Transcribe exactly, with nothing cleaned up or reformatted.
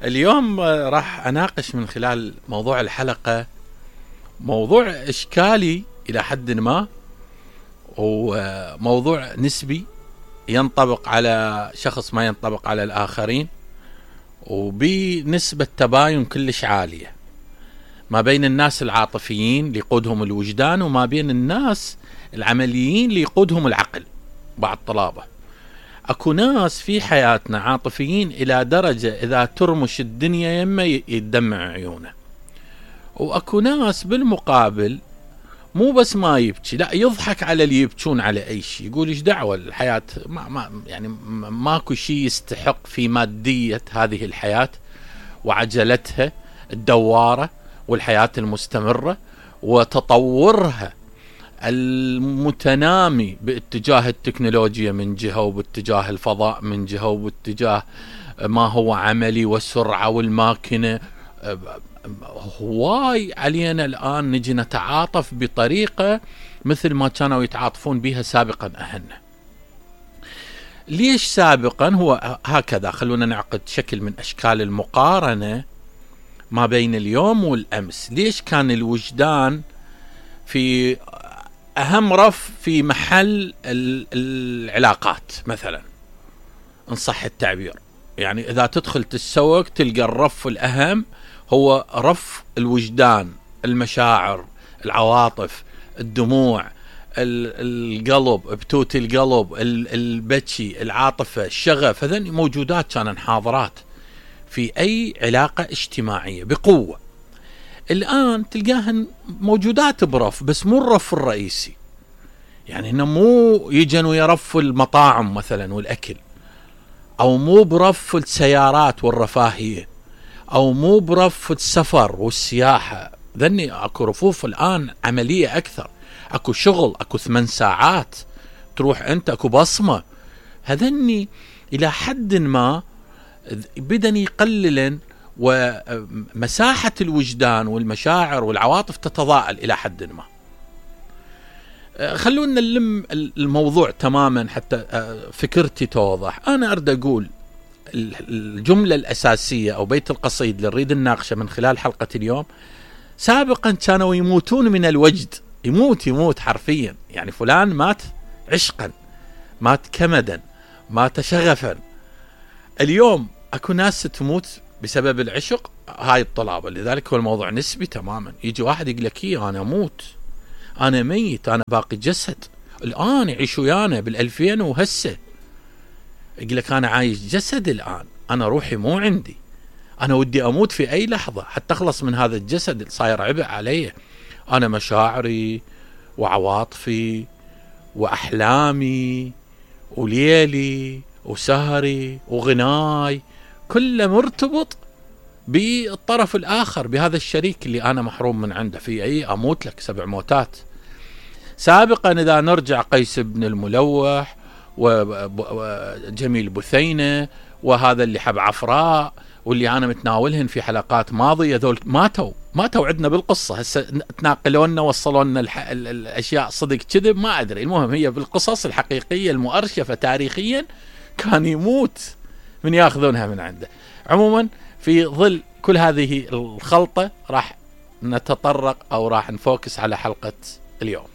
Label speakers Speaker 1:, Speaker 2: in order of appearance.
Speaker 1: اليوم راح أناقش من خلال موضوع الحلقة موضوع إشكالي إلى حد ما، وموضوع نسبي ينطبق على شخص ما ينطبق على الآخرين، وبنسبة تباين كلش عالية ما بين الناس العاطفيين اللي يقودهم الوجدان وما بين الناس العمليين اللي يقودهم العقل. بعض طلابة اكو ناس في حياتنا عاطفيين الى درجة اذا ترمش الدنيا يمه يدمع عيونه، واكو ناس بالمقابل مو بس ما يبكي، لا يضحك على اللي يبكون على اي شيء، يقول ايش دعوة الحياة ما ما يعني ماكو شيء يستحق في مادية هذه الحياة وعجلتها الدوارة والحياة المستمرة وتطورها المتنامي باتجاه التكنولوجيا من جهة، وباتجاه الفضاء من جهة، وباتجاه ما هو عملي والسرعة والماكنة. هواي علينا الآن نجي نتعاطف بطريقة مثل ما كانوا يتعاطفون بها سابقا أهلنا. ليش سابقا؟ هو هكذا، خلونا نعقد شكل من أشكال المقارنة ما بين اليوم والأمس. ليش كان الوجدان في أهم رف في محل العلاقات مثلا إن صح التعبير؟ يعني إذا تدخل تتسوق تلقى الرف الأهم هو رف الوجدان، المشاعر، العواطف، الدموع، القلب، بتوت القلب، البكي، العاطفة، الشغف. هذين موجودات كانن حاضرات في أي علاقة اجتماعية بقوة. الآن تلقاهن موجودات برف بس مو الرف الرئيسي، يعني هنا مو يجن ويرفوا المطاعم مثلا والأكل، أو مو برف السيارات والرفاهية، أو مو برف السفر والسياحة. ذني أكو رفوف الآن عملية أكثر، أكو شغل، أكو ثمان ساعات تروح أنت، أكو بصمة. هذني إلى حد ما بدن يقللن، ومساحة الوجدان والمشاعر والعواطف تتضاءل إلى حد ما. خلونا نلم الموضوع تماما حتى فكرتي توضح. أنا أريد أقول الجملة الأساسية أو بيت القصيد اللي نريد نناقشه من خلال حلقة اليوم. سابقا كانوا يموتون من الوجد، يموت يموت حرفيا، يعني فلان مات عشقا، مات كمدا، مات شغفا. اليوم أكو ناس تموت بسبب العشق، هاي الطلابة. لذلك هو الموضوع نسبي تماما. يجي واحد يقول لك إيه أنا أموت، أنا ميت، أنا باقي جسد. الآن يعيش ويانا بالألفين وهسه يقول لك أنا عايش جسد، الآن أنا روحي مو عندي، أنا ودي أموت في أي لحظة حتى أخلص من هذا الجسد اللي صاير عبء علي. أنا مشاعري وعواطفي وأحلامي وليلي وسهري وغناي كله مرتبط بالطرف الآخر، بهذا الشريك اللي أنا محروم من عنده. في أي أموت لك سبع موتات. سابقا إذا نرجع قيس بن الملوح وجميل بثينة وهذا اللي حب عفراء واللي أنا متناولهن في حلقات ماضية، ذول ماتوا ماتوا عندنا بالقصة. هسه تناقلونا وصلونا الأشياء صدق كذب ما أدري، المهم هي بالقصص الحقيقية المؤرشفة تاريخيا كان يموت من ياخذونها من عنده. عموما في ظل كل هذه الخلطة راح نتطرق أو راح نفوكس على حلقة اليوم.